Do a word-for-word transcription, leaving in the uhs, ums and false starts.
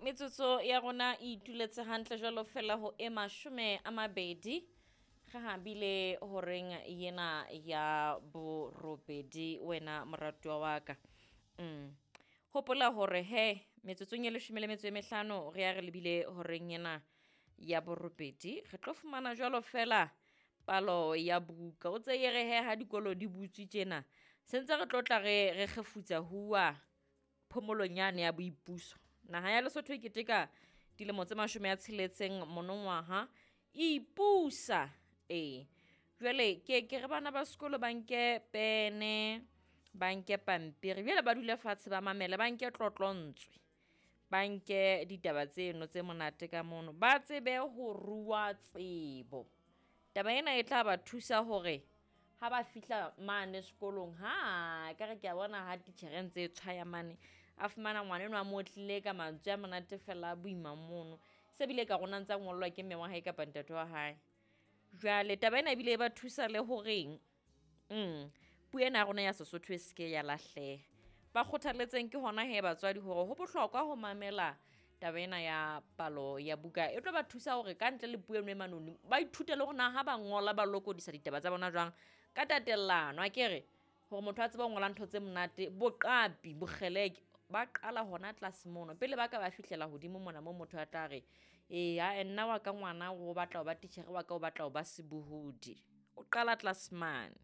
Metsotso ya rona e ituletse hantle jwalo fela ho e mashome a mabedi re habile horeng yena ya borobedi, wena moratuwa wa ka. Mm. Hopola hore he metsotsong e leshome le metso e mehlano re ya re lebile horeng ena ya borobedi, re tlo fumana jwalo fela palo ya buka. O tse e re he ha dikolo di butswe tjena, se ntse re tlo tla re re kgefutsa huwa phomolong yane ya boipuso. Naha ya Lesotho e keteka dilemo tse mashome a tsheletseng monongwaha e ipusa. Ee, jwale ke ke re bana ba sekolo ba nke pene, ba nke pampiri, jwale ba dule fatshe ba mamele, ba nke tlotlontswe, ba nke ditaba tseno tse monate ka mono, ba tsebe ho rua tsebo. Taba ena e tla ba thusa hore ha ba fihla mane sekolong, ha ekare ke a bona ha titjhere e ntse e tshwaya mane, a fumana ngwana enwa a mo otlile ka mantswe a monate fela a boima mono. Se bile ka rona ntsa ngollwa ke mme wa hae kapa ntate wa hae. Jwale taba ena ebile e ba thusa le horeng mm, puo ena ya rona ya Sesotho e se ke ya lahleha. Ba kgothaletseng ke hona hee batswadi hore ho bohlokwa ho mamela taba ena ya palo ya buka. E tlo ba thusa hore ka ntle le puo eno e manoni, ba ithute le hore na ha ba ngola ba lokodisa ditaba tsa bona jwang ka tatellano, akere? Hore motho a tsebe ho ngola ntho tse monate, boqapi, bokgeleke, ba qala hona tlase mono pele ba ka ba fihlela hodimo mona moo motho a tla re, ee ae nna wa ka ngwana o batla ho ba titjhere, wa ka o batla ho ba sebohodi. O qala tlase mane.